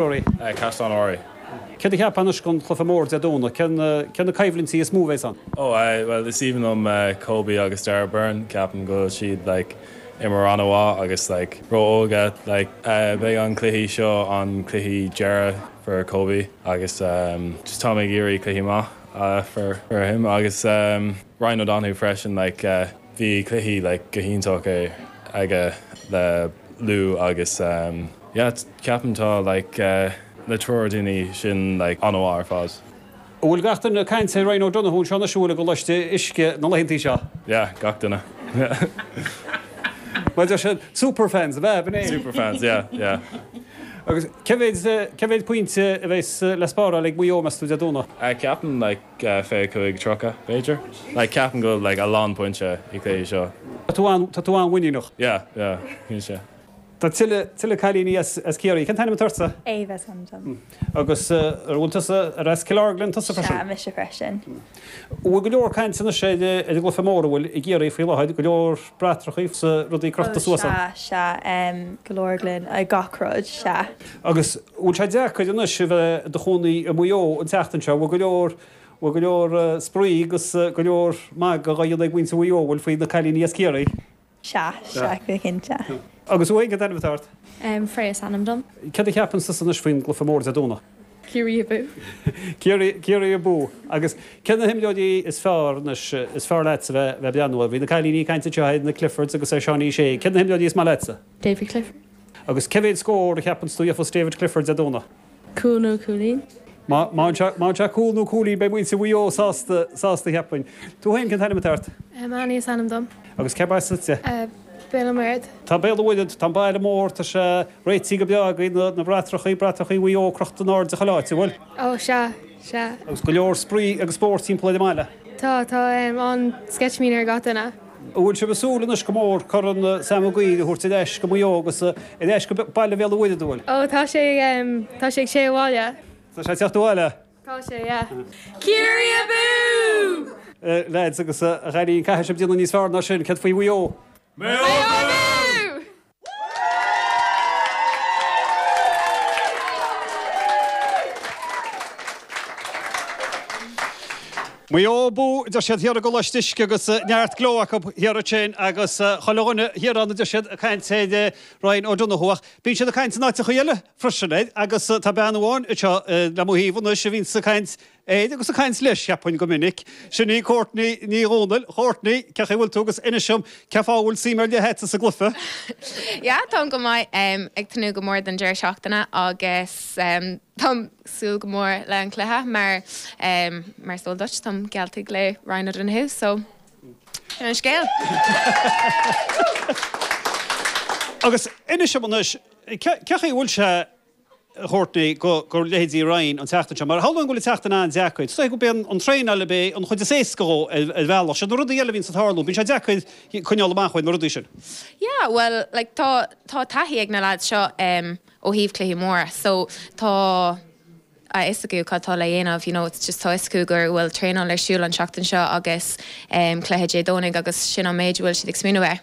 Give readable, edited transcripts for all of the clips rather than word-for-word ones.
Rory. Caisleán Owry. Céard a cheapfá anois don chluiche mór Dé Domhnaigh? Cé na coimhlintí is mó a bheas ann? Oh bhuel is aoibhinn liom Kobe agus Darragh Beirne, ceapaim go bhfuil siad like imir an-mhaith agus like ró-óga like beidh an cluichí seo an cluichí deireadh for Kobe agus just táim ag iarraidh cluichí maith for for him agus Ryan O'Donoghue freisin like bhí cluichí like go hiontach é aige le Lú agus yeah ceapaim tá like na triúr daoine sin like an-mhaith ar fad. An bhfuil gach duine ag caint ar Ryan O'Donoghue anseo anois an bhfuil i gColáiste Uisce na laethantaí seo? Yeah gach duine. Mar deir siad super fans ab ea? B'in é? Super fans yeah yeah. Agus cé mhéid cé mhéid pointe a bheas le spáráil ag Maigh Eo meas tú Dé Domhnaigh? Ceapaim like 25, 30 b'fhéidir. Like ceapaim go bhfuil like a lán pointe i gcluichí seo. Tá tú an, tá tú an-mhuiníneach. Yeah, yeah, cinnte. Tá tuilleadh, tuilleadh cailíní as, as Ciarraí. Cén t-ainm atá ortsa? Ava is ainm dom. Agus ar bhfuil tusa, ar as Cill Orglan tusa freisin? Sea, mise freisin. An bhfuil go leor caint anois ar, ar an gcluiche mór, an bhfuil, i gCiarraí faoi láthair, go leor bratacha is rudaí crochta suas ann? Ó sea, sea, go leor gloine, gach rud, sea. Agus an bhfuil sé deacair anois a bheith i do chónaí i Maigh Eo an tseachtain seo, an bhfuil go leor, bhfuil go leor spraoi agus go leor magadh á dhéanamh ag muintir Mhaigh Eo, an bhfuil, faoi na cailíní as Ciarraí? Sea, sea, go cinnte. Agus thú féin, cén t-ainm atá ort? Freya is ainm dom. Céard a cheapann tusa anois faoin gcluiche mór Dé Domhnaigh? Ciarraí abú! Ciarraí, Ciarraí abú! Agus cé na himreoirí is fearr anois, is fearr leatsa bheith, bheith ag breathnú orthu? Bhí na cailíní ag caint anseo ar na Cliffords agus ar Seánie Shea. Cé na himreoirí is maith leatsa? David Clifford. Agus cé mhéad scór a cheapanns tú a gheofas David Clifford Dé Domhnaigh? Cúl nó cúilín. Má fhaigheann sé cúl nó cúilín beidh muintir Mhaigh Eo sásta, sásta cheapfainn. Tú féin, cén t-ainm atá ort? Annie is ainm dom. Agus cérb as duitse? Béal an Mhuirthead. Tá Béal an Mhuirthead, tá an baile mór, tá sé réitithe go breá agaibh, na, na bratrachaí, bratachaí Mhaigh Eo crochta in airde chuile áit, an bhfuil? Ó, sea, sea. Agus go leor spraoi agus spórt timpeall ar an mbaile? Tá, tá an-sceitimíní ar gach duine. An bhfuil sibh ag súil anois go mór Corn Sam Maguire a thabhairt ar ais go Maigh Eo agus ar ais go baile Bhéal an Mhuirthead, an bhfuil? Ó tá sé, tá sé ag sé abhaile. Tá sé ag teacht abhaile? Tá sé, yeah. Ciarraí abú! Lads agus a chailíní, caithfidh sibh déanamh níos fearr ná sin, céard faoi Mhaigh Eo? Maigh Eo abú! Maigh Eo abú, a deir siad thiar i gColáiste Uisce agus neart gleo acu thiar ansin agus chuile dhuine thiar ann a deir siad ag caint ar Ryan O'Donoghue ach bíonn siad ag caint in áiteachaí eile freisin air agus tá bean amháin anseo le mo thaobh anois a bhíonns ag caint air agus ag caint leis, cheapfainn, go minic. Sin í Courtney Ní Dhomhnaill. Courtney, cén chaoi a bhfuil tú agus inis dom cén fáth a bhfuil suim ar leith agat sa gcluiche? Yeah, táim go maith. Ag tnúth go mór don deireadh seachtaine agus táim ag súil go mór le an cluiche mar mar is eol duit, táim geallta le Ryan O'Donoghue so sin an scéal. Agus inis dom anois, cén chaoi a bhfuil sé a Chourtney, go leithéidí Ryan an tseachtain seo, mar shamhlóinn go bhfuil an tseachtain an-deacair. Is dóigh gurb é an traenáil ab é an chuid is éasca dhó ar bhealach. Siad na rudaí eile a bhíonns ag tarlú, bíonn sé deacair coinneáil amach uaidh na rudaí sin. Yeah, bhuel, like, tá, tá taithí ag na lads seo ó thaobh cluichí móra, so tá a fhios acu cad tá le dhéanamh, you know, it's just tá a fhios acu go bhfuil traenáil ar siúl an tseachtain seo agus cluiche Dé Domhnaigh agus sin an méid a bhfuil siad ag smaoineamh air.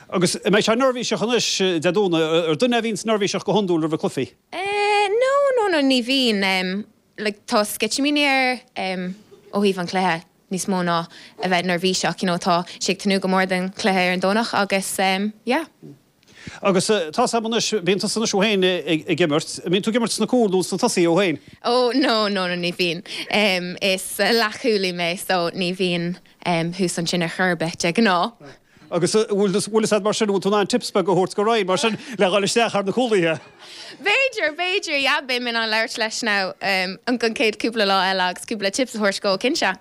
Agus an mbeidh sé neirbhíseach anois Dé Domhnaigh? Ar duine é a bhíonns neirbhíseach go hiondúil roimh cluichí? Eh no, no, no, ní bhíonn. Em like tá sceitimíní air em ó thaobh an chluiche níos mó ná a bheith neirbhíseach, you know, tá sé ag tnúth go mór don chluiche ar an Domhnach agus em yeah. Agus tá's a'm anois, bíonn tusa anois thú féin ag imirt, an mbíonn tú ag imirt sna cúil nó sna tosaithe thú féin? Oh no, no, no, ní bhíonn. Em is leathchúlaí mé so ní bhíonn em thuas ansin ar chor ar bith de ghnáth. Agus an bhfuil a fhios a'd mar sin, an bhfuil tú in ann tips beag a thabhairt go Ryan mar sin le dhul isteach thar na cúlaithe? B'fhéidir, b'fhéidir, yeah, beidh mé in ann labhairt leis now an chéad cúpla lá eile agus cúpla tips a thabhairt dó, cinnte.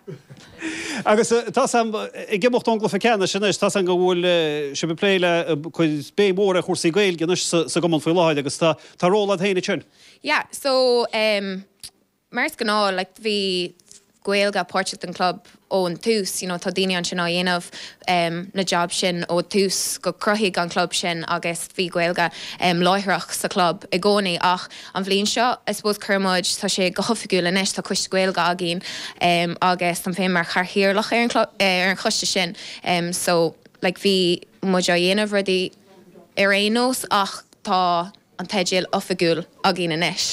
Agus tá's a'm, ag imeacht ón gcluiche ceannais anois, tá's a'm go bhfuil sibh ag plé le cur béim mhór ar chúrsaí Gaeilge anois sa gcumann faoi láthair agus tá ról a'd féin ansin. Yeah, so em Mar is gnáth, like bhí Gaeilge páirteach den club ón tús, you know tá daoine ansin á dhéanamh na jab sin ó tús go cruthaíodh an club sin agus bhí Gaeilge láithreach sa chlub i gcónaí ach an bhliain seo I suppose chuir muid, tá sé go hoifigiúil anois, tá coiste Gaeilge againn agus táim féin mar chathaoirleach ar an club, ar an choiste sin so like bhí muid á dhéanamh rudaí ar aon nós ach tá. an teideal oifigiúil againn anois.